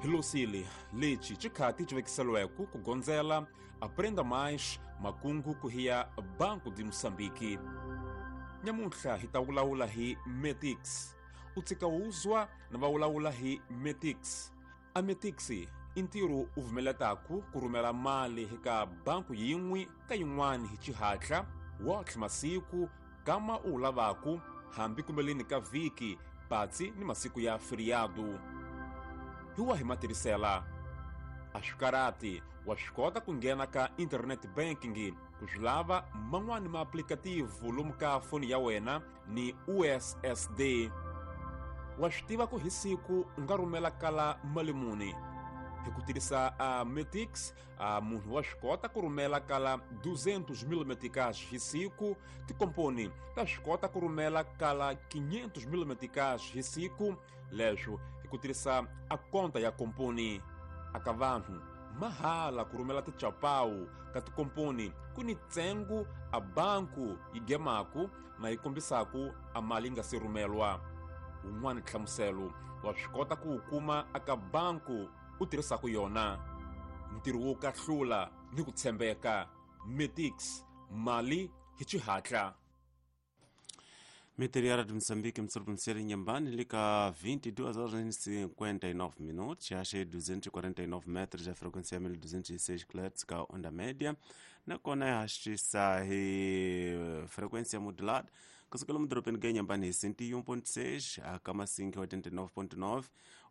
Hi losile lexi xikhati xi vekiseliweke ku gondzela Aprenda Mais makungu ku hiya Banco de Moçambique. Nyamuntlha hi ta vulavula hi Metix. U tshika wuzwa na va vulavula hi Metix. A Metix i ntirho u vumeletaku ku rhumela mali eka banku yin'we ka yin'wana hi xihatla wotlhe masiku kama u wu lavaku hambi kumbeleni ka vhiki patsi ni masiku ya feriado. Hi wahi matirhisela? A swi karati, wa swi kota ku nghena ka internet banking ku swi lava man'wani maaplikativu lomu ka foni ya wena ni USSD. Wa swi tiva ku hi siku u nga rhumela kala mali muni hi ku tirhisa a Metix. A munhu wa swi kota ku rhumela kala 200 000 meticais hi siku. Tikomponi ta swi kota ku rhumela kala 500 000 meticais hi siku, leswo hi ku tirhisa a konta ya komponi. Aka vanhu mahala ku rhumela tichapawu ka tikomponi ku ni ntsengo a banku yi gemaku na yi kombisaku a mali yi nga se rhumelwa. Wun'wana nhlamuselo wa swi kota ku wu kuma aka banku u tirhisaka yona. Ntirho wo kahlula ni ku tshembeka, Metix, mali hi xihatla. Meteri ya Radio Moçambique mtsuri Inhambane lika 22 horas e 59 minutos, acha 249 metros, a frequência é 1206 kHz ka onda média, nakona yahashisa hi frequência modulada kusukela mudorobeni ka Inhambane hi 101.6, akamasingi 89.9,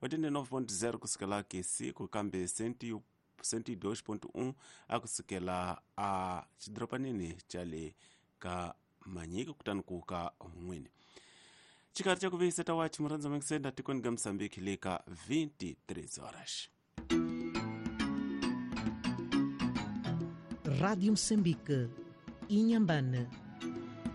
89.0 kusukela kesiku, kambe 102.1 akusukela a xidorobanini xa le ka Manyika kutani ku ka n'wini. Xikari xa ku vuyisa ta wachi murhandza mangisenda tikweni ka Mosambiki le ka 23 horas. Rádio Moçambique, Inhambane.